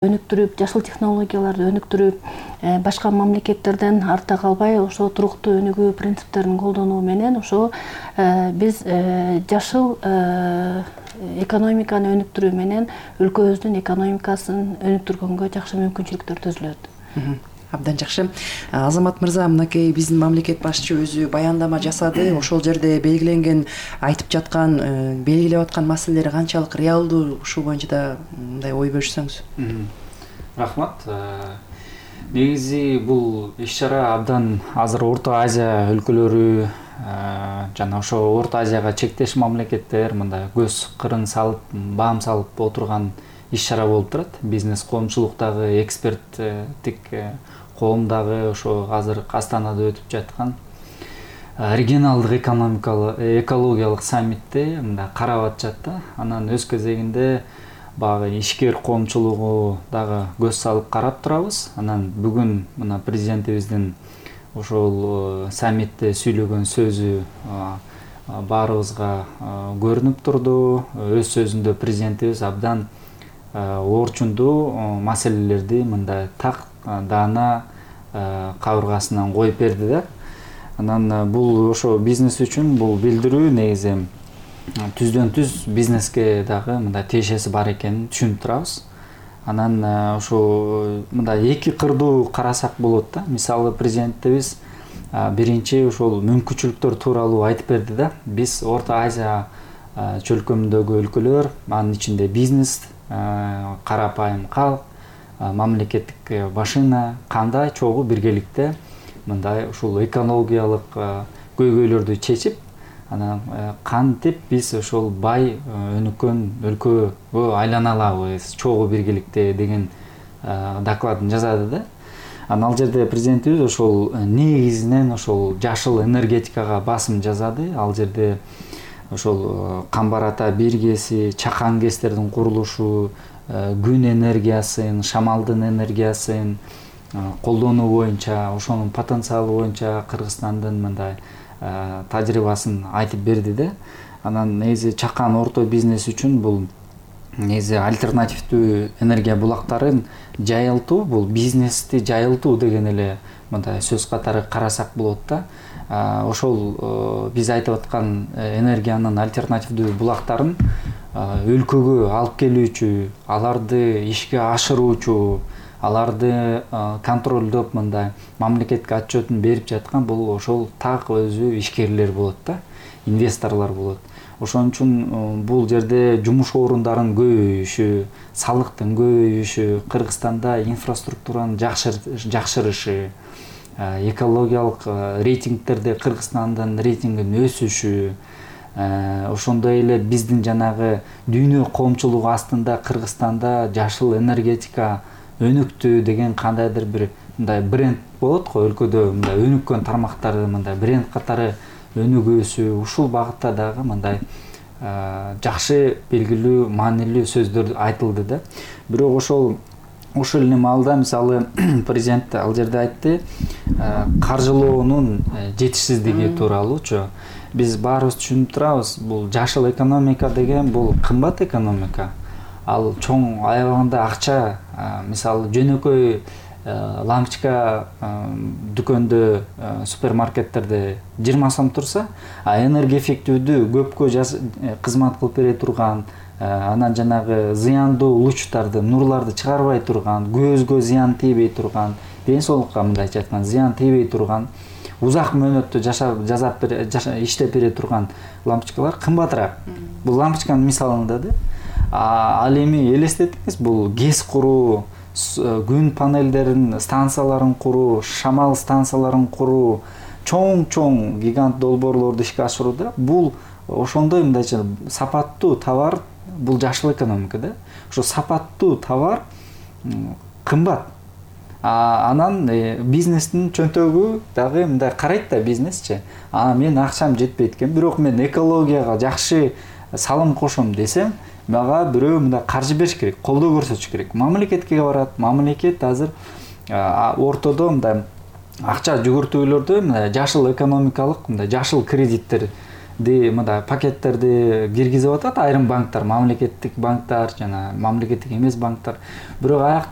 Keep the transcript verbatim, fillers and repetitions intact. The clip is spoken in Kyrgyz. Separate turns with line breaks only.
өнүктүрүп, жашыл технологияларды өнүктүрүп, башка мамлекеттерден артта калбай, ошо туруктуу өнүгүү принциптерин колдонуу менен ошо биз жашыл экономиканы өнүктүрүү менен өлкөбүздүн экономикасын өнүктүргөнгө жакшы мүмкүнчүлүктөр түзүлөт.
Абдан жакшы. Азамат мырза, мынакей биздин мамлекет башчы өзү баяндама жасады. Ошол жерде белгиленген, айтып жаткан, белгилеп аткан маселелер канчалык реалдуу, ушул боюнча да мындай ой бөлүшсөңүз.
Рахмат. Негизи бул иш-чара абдан азыр Орто Азия өлкөлөрү жана ошо Орто Азияга чектеш мамлекеттер мындай көз кырын салып, баам салып отурган иш-чара болуп турат. Бизнес коомчулуктагы, эксперттик коомдагы ошо азыр Астанада өтүп жаткан регионалдык экономикалык, экологиялык саммитте мындай карап атышат да. Анан өз кезегинде баягы ишкер коомчулугу дагы көз салып карап турабыз. Анан бүгүн мына президентибиздин ошол саммитте сүйлөгөн сөзү баарыбызга көрүнүп турду. Өз сөзүндө президентибиз абдан орчундуу маселелерди мындай так даана кабыргасынан коюп берди да. Анан бул ошо бизнес үчүн бул билдирүү негизи түздөн түз бизнеске дагы мындай тиешеси бар экенин түшүнүп турабыз. Анан ошо мындай эки кырдуу карасак болот да. Мисалы президентибиз биринчи ошол мүмкүнчүлүктөр тууралуу айтып берди да. Биз Орто Азия чөлкөмүндөгү өлкөлөр, анын ичинде бизнес, карапайым калк, мамлекеттик башына кандай чогуу биргеликте мындай ушул экологиялык көйгөйлөрдү чечип, анан кантип биз ошол бай өнүккөн өлкөгө айлана алабыз чогуу биргеликте деген докладын жазады да. Анан ал жерде президентибиз ошол негизинен ошол жашыл энергетикага басым жасады. Ал жерде ошол Камбар Ата биргеси, чакан гэстердин курулушу, күн энергиясын, шамалдын энергиясын колдонуу боюнча, ошонун потенциалы боюнча Кыргызстандын мындай тажрыйбасын айтып берди да. Анан негизи чакан орто бизнес үчүн бул негизи альтернативдүү энергия булактарын жайылтуу, бул бизнести жайылтуу деген эле мындай сөз катары карасак болот да. Ошол биз айтып аткан энергиянын альтернативдүү булактарын өлкөгө алып келүүчү, аларды ишке ашыруучу, аларды контролдоп мындай мамлекетке отчетун берип жаткан бул ошол так өзү ишкерлер болот да, инвесторлор болот. Ошон үчүн бул жерде жумуш орундарын көбөйүшү, салыктын көбөйүшү, Кыргызстанда инфраструктуранын жакшырышы, экологиялык рейтингтерде Кыргызстандын рейтингинин өсүшү, ошондой эле биздин жанагы дүйнө коомчулугу астында Кыргызстанда жашыл энергетика өнүктү деген кандайдыр бир мындай бренд болот го, өлкөдө мындай өнүккөн тармактарды мындай бренд катары өнүгүүсү, ушул багытта дагы мындай жакшы белгилүү маанилүү сөздөр айтылды да. Бирок ошол ошол эле маалда мисалы президент ал жерде айтты, каржылоонун жетишсиздиги тууралуучу. Биз баарыбыз түшүнүп турабыз, бул жашыл экономика деген бул кымбат экономика. Ал чоң аябагында акча, мисалы жөнөкөй лампочка дүкөндө, супермаркеттерде жыйырма сом турса, а энергия эффективдүү көпкө кызмат кылып бере турган, анан жанагы зыяндуу лучтарды, нурларды чыгарбай турган, көзгө зыян тийбей турган, ден соолукка мындайча айтканда зыян тийбей турган, узак мөөнөттө жашап, жазап, иштеп бере турган лампочкалар кымбатыраак. Бул лампочканын мисалында да. Ал эми элестетиңиз, бул ГЭС куруу, күн панелдерин, станцияларын куруу, шамал станцияларын куруу, чоң-чоң гигант долбоорлорду ишке ашырууда бул ошондой мындайча сапаттуу товар, бул жашыл экономика да. Ошо сапаттуу товар кымбат. Анан бизнестин чөнтөгү дагы мындай карайт да бизнесчи. А мен акчам жетпейт экен, бирок мен экологияга жакшы салым кошом десем, мага бирөө мындай каржы бериш керек, колдоо көрсөтүш керек. Мамлекетке барат, мамлекет азыр ортодо мындай акча жүгүртүүлөрдө мындай жашыл экономикалык, мындай жашыл кредиттер мындай пакеттерди киргизип атат айрым банктар, мамлекеттик банктар жана мамлекеттик эмес банктар. Бирок аякта